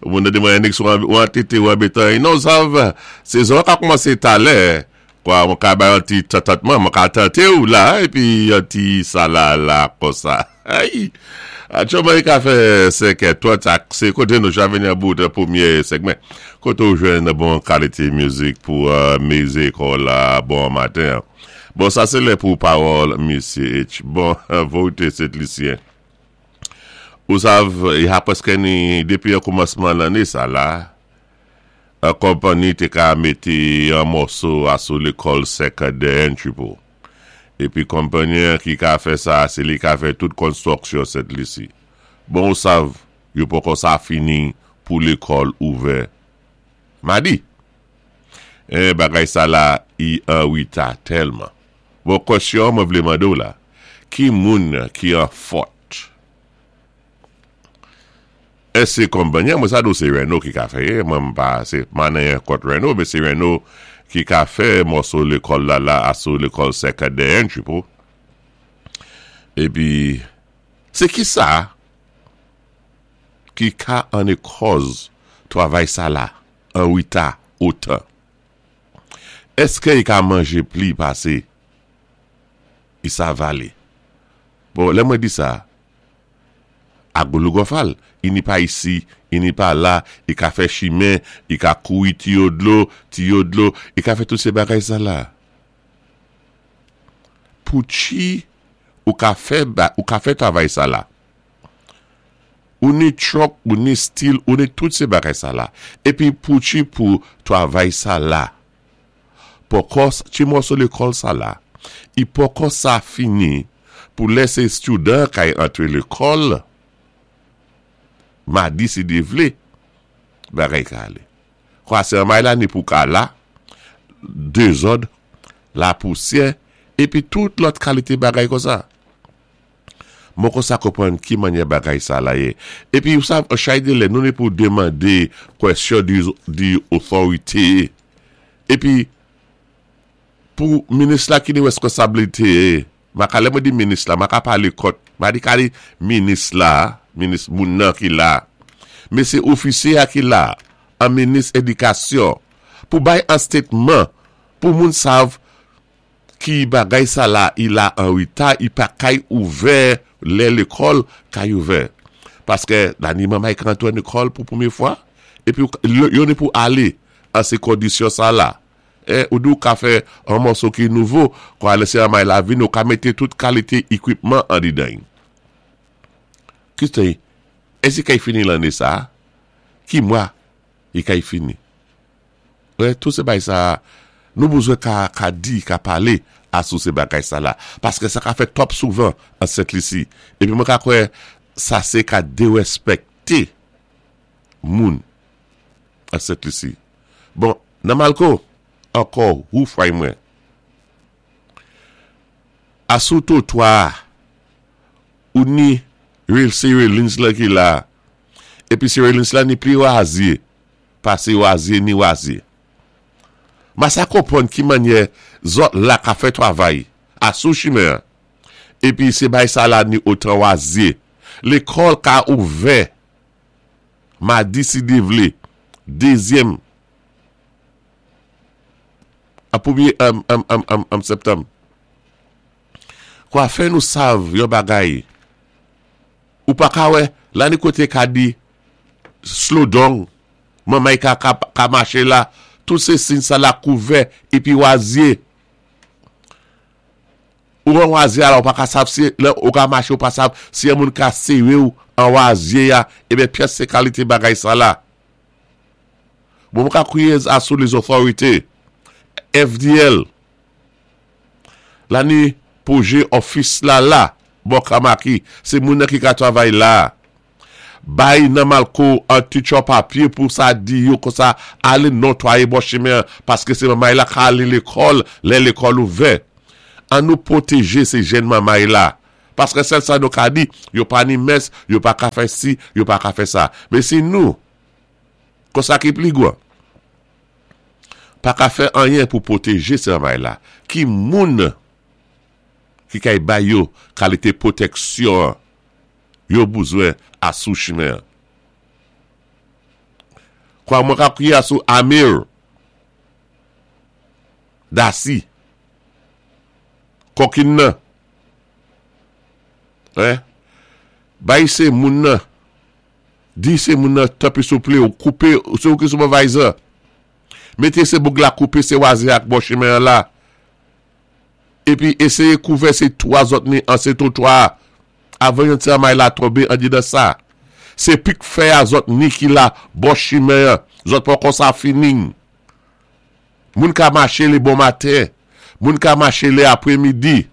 Moun nan di mwen Enix ou antete ou anbetan. Non sav, sezon an ka koumanse talè. Kwa mwen ka bay yon ti tantantman, mwen ka tante ou la epi yon ti sa la la konsa. Ay! Atchouman li ka fè 5 è 30 ak se kote nou cha vini an bout premye segmen. Kote ou jwenn bon kalite mizik pou meze kò w la bon maten an. Bon sa se lè pou pawòl misye H. Bon vorite Sent Lisyen. Ou sav y ha prèske ni depi an koumansman lanne sa la an konpanni te ka mete an mòso a sou lekòl sekondè entry pou. Epi konpanni an ki ka fè sa se li ka fè tout konstwòksyon Sent Lisi. Bon ou sav yo poko sa fini pou lekòl ouvè madi. Eh bagay sa la i an reta tèlman. Bon kwèsyon mwen vle mande w la, ki moun ki an fòt? Èske se konpanyi an, mwen sa di w se Reno ki ka fè ye, mwen m pa se m pa nan anyen kont Reno men se Reno ki ka fè mòso lekòl la la aso lekòl sekondè entry pou epi se kisa ki ka an ekòz travay sa la an reta otan? Eske i ka manje pli pase i sa vale? Bon, lè mwen di sa, Agoulougòfal, i ni pa isi, i ni pa la, i ka fè chimen, i ka kouri tiyo dlo, tiyo dlo, i ka fè tout se bagay sa la. Poutchi ou ka fè, ou ka fè travay sa la. Ou ni truck ou ni stil ou ni tout se bagay sa la epi pouchi pou travay sa la poko ti mòso lekòl sa la i poko sa fini pou lè se student kay antre lekòl madi si Dye vle bagay ka ale kwa se anmay la ni pou ka la dezòd lapousyè epi tout lòt kalite bagay konsa. Mwen konsa konprann ki manyè bagay sa la ye. Epi ou sav, an chay de lè, nou ni pou demande kwèsyon di, di otorite. Epi, pou minis la ki ni reskonsablite, ma ka, lè mwen di minis la, ma ka pale kont, ma di ka di minis la, minis moun nan ki la. Men se ofisye a ki la, an minis edikasyon, pou bay an statement, pou moun sav, Ki bagay sa la i la an reta i pa kay ouvè lè lekòl kay ouvè paskè la ni manmay k rantre lekòl pou premye fwa epi yo ni pou ale an se kondisyon sa la e ou di ou ka fè an mòso ki nouvo kwa lè se manmay la vini ou ka mete tout kalite ekwipman andedan y ki se èske kay fini lane sa ki mwa i kay fini. Wè tout se bay sa nou bezwen ka ka di ka pale a sou se bagay sa la paske sa ka fè twòp souvan an Sent Lisi epi mwen ka kwè sa se ka derèspèkte moun an Sent Lisi bon nan Malko ankò hou fray mwen a sou twotwa a ou ni rel se relins lan ki la epi se relins la ni pli razye Pase wazye ni wazye. Ma sa konprann ki mannyè zòt la ka fè travay a sou chimen an. Epi se bay sa la ni otan wazye. Lekòl ka ouvè madi si Dye vle, dezyèm a premye am septanm. Kwa fè nou sav yon bagay ou pa ka wè la ni kote ka di Slow down manmay ka ka mache la tout se sin sa la kouvè epi wazye ou an wazye a la ou pa ka sav si lè ou ka mache ou pa sav si yon moun ka serew an wazye a ebyen pyès se kalite bagay sa la bon mwen ka kriye a sou les authorités FDL la ni pwoje office la la bò kamaki se moun nan ki ka travay la. Bay nan malko an ti tchò papye pou sa di yo konsa ale notwaye bò chimen an paske se manmay la ka ale lekòl lè lekòl ouvè. An nou pwoteje se jèn manmay la. Paske sèl sa nou ka di yo pa ni mès, yo pa ka fè si, yo pa ka fè sa. Men si nou konsa ki pli gwan pa ka fè anyen pou pwoteje se manmay la ki moun ki kay bay yo kalite pwoteksyon an. Yo bouzwen asou chimen an. Kwa mwen ka kwiyé asou Amir Dasi kòkin nan hein bay se moun nan di se moun nan tanpri souplé ou koupe se ou ki supervisor mete se boug la koupe se waze ak bò chimen an la Epi eseye kouvè se 3 zòt mi an se twotwa a avan yon ti anmay la tonbe andedan sa. Se pik fè a zòt ni ki la bò chimen an zòt poko sa fini. Moun ka mache le bon maten, moun ka mache le apre midi.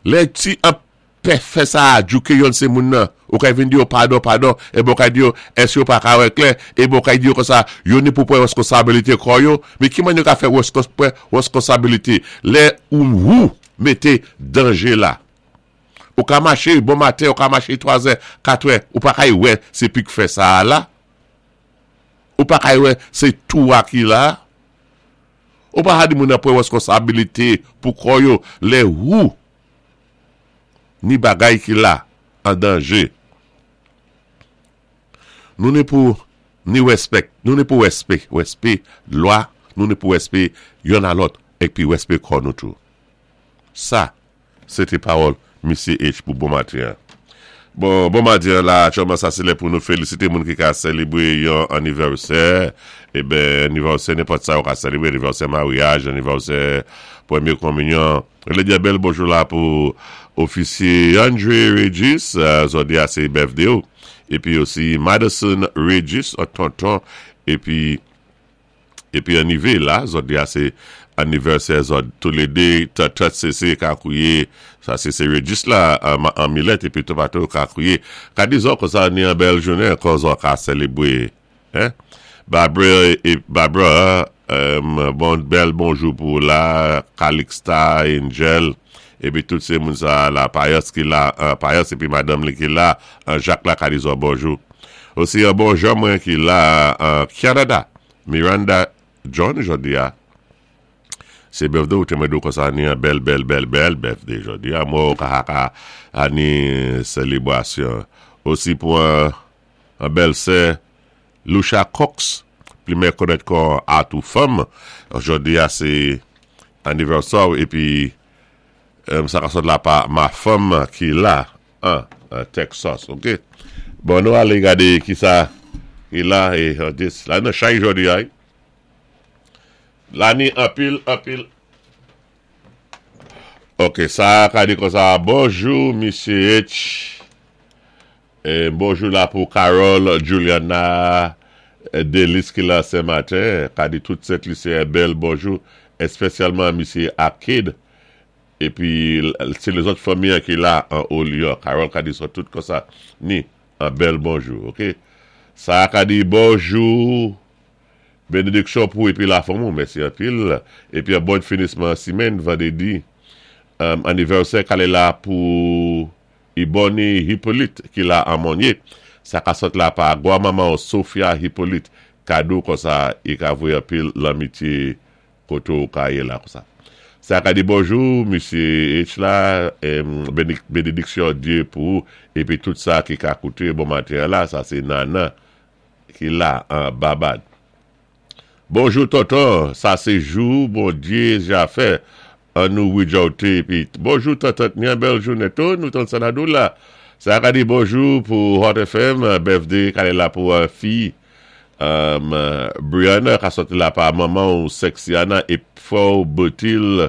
Lè ti an pè fè sa a djouke yonn se moun nan, ou kay vin di yo padon padon, enben ou kay di yo èske yo pa ka wè klè, enben ou kay di yo konsa yo ni pou pran reskonsabilite kò yo, men ki mannyè yo ka fè pran reskonsabilite lè ou wou mete danje la. Ou ka mache bon maten, ou ka mache twazè, katrè, ou pa kay wè se pik fè sa a la, ou pa kay wè se tou a ki la a. Ou pa ka di moun nan pran reskonsabilite pou kò yo lè wou ni bagay ki la an danje. Nou ni pou ni respek, nou ni pou respe, respe lwa, nou ni pou respe yonn a lòt epi respe kò nou tou. Sa. Se te pawòl Misye H pou bon maten an. Bon, bon maten an la aktyèlman sa se lè pou nou felisite moun ki ka selebre yon anivèsè. Eben, anivèsè nenpòt sa ou ka selebre, anivèsè maryaj, anivèsè premye kominyon. Vle di bèl bonjou la pou ofisye Andre Regis, zòdi a se birthday ou. Epi osi Madison Regis, tonton, epi. Epi anive la zòt di a se anivèsè zòt toulede tòtòt sese kakouye sa se se rejis la an milèt epi tomato kakouye ka di zò konsa ni an bèl jounen ankò zò ka selebre hein Barbara e Barbara bon bèl bonjou pou ou la Calixta Angel epi tout se moun sa la Payas ki la Payas epi madanm li ki la an Jak la ka di zò bonjou. Osi yon bon jan mwen ki la an Canada Miranda John jodi a se birthday ou te mwen di w konsa ni yon bèl bèl bèl bèl birthday jodi a mwen ka ka a ni selebrasyon osi pou an bèl sè Lucia Cox pli mè konèt kon Atou Fanm jodi a se anivèsè w epi sa ka sot la pa ma fanm ki la An Texas ok. Bon nou ale gade kisa ki la e this la nan chay jodi a wi. La ni anpil anpil. Ok sa ka di konsa bonjou misye H. E bonjou la pou Carol Juliana Delis ki la sen maten ka di tout sent lisyen bèl bonjou espesyalman misye Arcade Epi se lezòt fanmi an ki la an Olion Carol ka di sò tout konsa ni an bèl bonjou ok sa ka di bonjou benediksyon pou epi la fanmi w mèsi anpil epi an bòn finisman simèn vandredi anivèsè kale la pou Ibony Hyppolite ki la an Monye sa ka sòt la pa gwa manman w Sophia Hyppolite kado konsa i ka voye anpil lanmitye Kote w ka ye la konsa. Sa ka di bonjou misye H la benediksyon Dye pou ou epi tout sa ki ka koute bon maten an la sa se Nana ki la an Babad. Bonjou tonton sa se jou Bondye ja fè an nou wijòwte epi bonjou tantant ni an bèl jounen tou nou tann sa na dou la sa ka di bonjou pou Hot FM birthday kale la pou fi Brianna ka sòti la pa manmanw Sexiana e frèw Bertil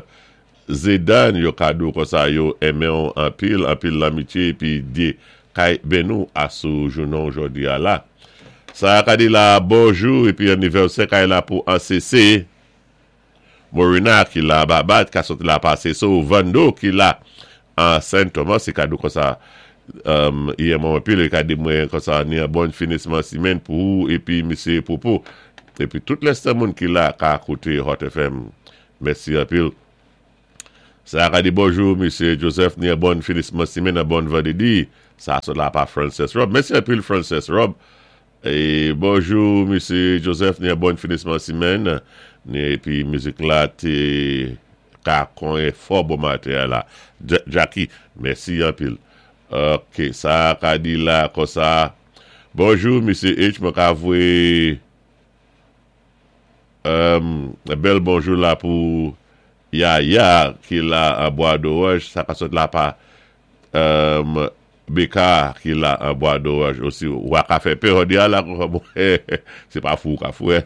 Zedane yo ka diw konsa yo enmenw anpil anpil lanmitye epi Dye kay beniw asou jounenw jodi a la sa ka di la bonjou epi anivèsè kay la pou ACC. Morena ki la Babad ka sot la pase sou Vando ki la an Sen Thomas se kado konsa i enmen w anpil e ka di mwen konsa ni an bon finisman simenn pou ou epi mesye Popo epi tout lèste moun ki la ka koute Hot FM mèsi anpil Sa ka di bonjou mesye Joseph ni an bon finisman simenn an bon vandredi sa sot la pa Frances Rob mèsi anpil Frances Rob Bonjou mesye Joseph ni bon finisman simèn ni epi mizik la te ka konyen fò bon maten an la Jacky mèsi anpil. Ok, sa ka di la konsa, Bonjou Misye H, mwen ka voyé bèl bonjou la pou Yaya ki la an Bwa Doranj, sa ka sot la pa BK ki la an Bwa Doranj osi. Wa ka fè pè jodi a la se pa fou ou ka fou.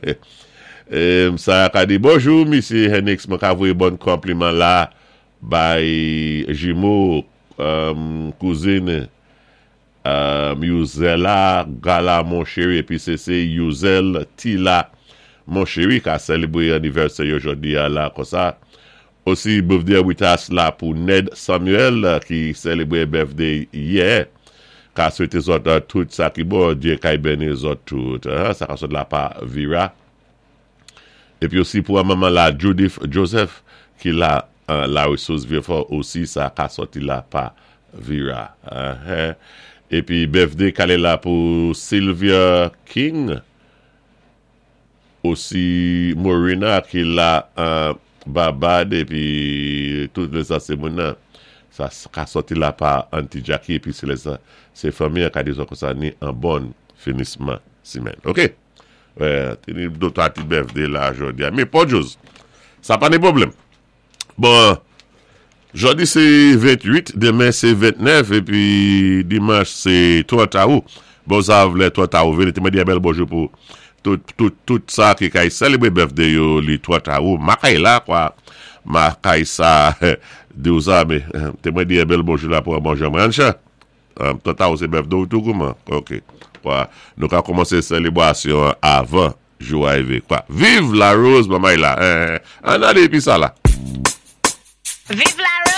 Sa ka di bonjou Misye Henix, mwen ka voye bon konpliman la bay jimo kouzin Youzela Gala mon cheri epi se se Youzel Tila mon cheri ka selebre anivèsè yo jodi a la konsa osi birthday Witas la pou Ned Samuel ki selebre birthday yè ka swete zòt tout sa ki bon Dye kay beni zòt tout sa ka sot la pa Vira. Epi osi pou manman la Judith Joseph ki la la resous Vieux-Fort osi sa ka sòti la pa Vira. Epi birthday kale la pou Sylvia King osi Morina ki la Barbade epi tout lè sa se moun nan sa ka sòti la pa Auntie Jackie epi se lè sa se fanmi an ka di konsa ni an bon finisman simèn. Ok. Te ni do twa ti birthday la jodi a. Men pò djoz. Sa pa ni pwoblèm. Bon, jodi se 28, demen se 29, epi dimanch se 30 awou. Bon, sa vlè 30 awou vini. Te mwen di yon bèl bonjou pou tout, tout, tout sa ki kay selebre birthday yo li 30 awou. Makay la, kwa. Makay sa, di ou sa, men, te mwen di yon bèl bonjou la pou an bon jan mwen. Tanta ou se birthday ou tou kouman? Ok. Kwa, nou ka kòmanse selebrasyon an avan jou a rive. Kwa, viv la Rose mamay la. Ann ale epi sa la. Viv la Rose!